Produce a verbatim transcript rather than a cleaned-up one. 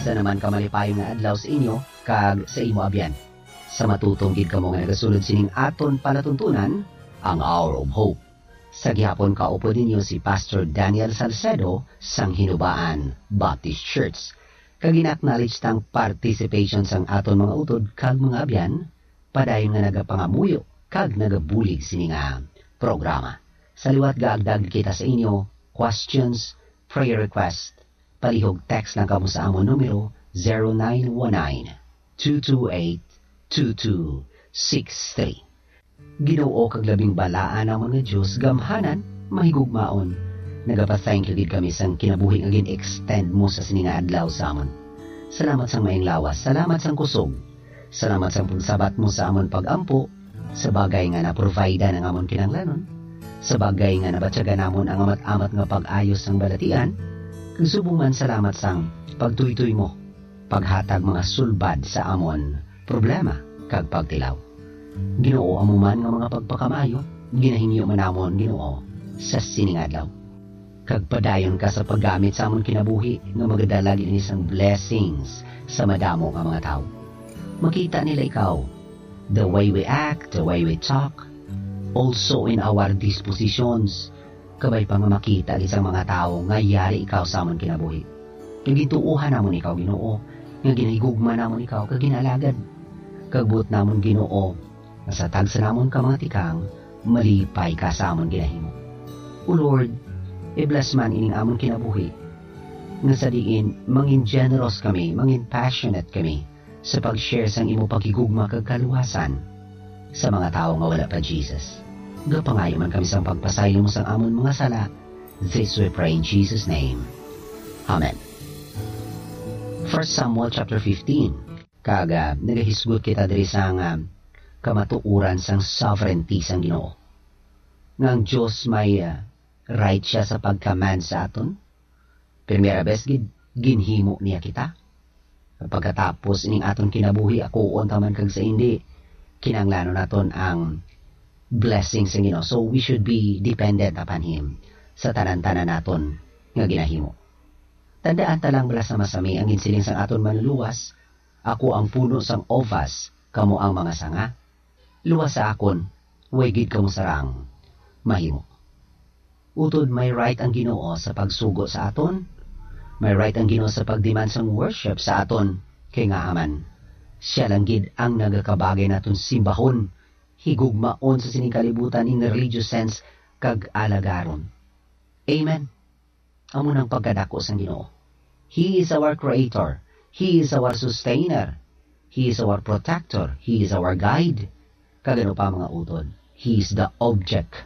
Sa naman ka malipayon nga adlaw sa inyo kag sa imo abyan. Sa matutom gid kamo nga nagasulod sining aton palatuntunan, ang Hour of Hope. Sa gihapon kaupod ninyo si Pastor Daniel Salcedo sang Hinubaan Baptist Church. Kag gina-acknowledge tang participation sang aton mga utod kag mga abyan, padayon nga nagapangamuyo kag nagabulig sini nga programa. Sa liwat gaagda kita sa inyo, questions, prayer request, palihog text lang kamo sa amon numero zero nine one nine, two two eight, two two six three. Ginoo kag labing balaan namon nga Dios, gamhanan, mahigugmaon. Nagapa-thank you gid kami sang kinabuhi nga gin-extend mo sa sini nga adlaw sa amon. Salamat sang maayong lawas, salamat sang kusog. Salamat sang pagsabat mo sa amon pag-ampo sa bagay nga na-provide ang amon kinahanglanon, sa bagay nga nabatyagan namon ang amat-amat nga pag-ayo sang balatian, kag subong man salamat sang pagtuytoy mo, paghatag mga sulbad sa amon problema kag pagtilaw. Ginoo, amo man nga mga pagpakamaayo ginahingyo man namon, Ginoo, sa sini nga adlaw. Kag padayon ka sa paggamit sa amon kinabuhi nga magadala gid ini sang blessings sa madamo nga mga tawo. Makita nila ikaw, the way we act, the way we talk, also in our dispositions, kabay pa nga makita gid sang mga tawo nga yari ikaw sa amon kinabuhi. Kag gintuohan namon ikaw, Ginoo, nga ginahigugma namon ikaw kag ginaalagad. Kag buot namon, Ginoo, nga sa tagsa namon ka mga tikang, malipay ka sa amon ginahimo. O Lord, i-bless man ining amon kinabuhi, nga sa diin mangin generous kami, mangin passionate kami sa pag-share sang imo paghigugma kag kaluwasan sa mga tawo nga wala pa Jesus. Gapangayo man kami sang pagpasaylo mo sang amon mga sala. This we pray in Jesus' name. Amen. First Samuel chapter fifteen. Kag, ah, nagahisgot kita diri sang, ah, kamatuoran sang sovereignty sang Ginoo. Nga ang Dios may, ah, right siya sa pag-command sa aton. Primera bes gid, ginhimo niya kita. Pagkatapos ining aton kinabuhi, akuon ta man kag sa indi, kinahanglanon naton ang blessing sa Ginoo. So, we should be dependent upon Him sa tanan-tanan naton nga ginahimo. Tandaan ta lang bala sa masami ang ginsiling sang aton Manluluwas, "Ako ang puno sang uvas, kamo ang mga sanga. Luwas sa akon, way gid kamo sarang mahimo." Utod may right ang Ginoo sa pagsugo sa aton. May right ang Ginoo sa pag-demand sang worship sa aton, kay ngaa man, siya lang gid ang nagakabagay naton simbahon, higugmaon sa sining kalibutan in religious sense, kag alagaron. Amen. Amo nang pagkadako sang Ginoo. He is our creator. He is our sustainer. He is our protector. He is our guide. Kag ano pa, mga utod, He is the object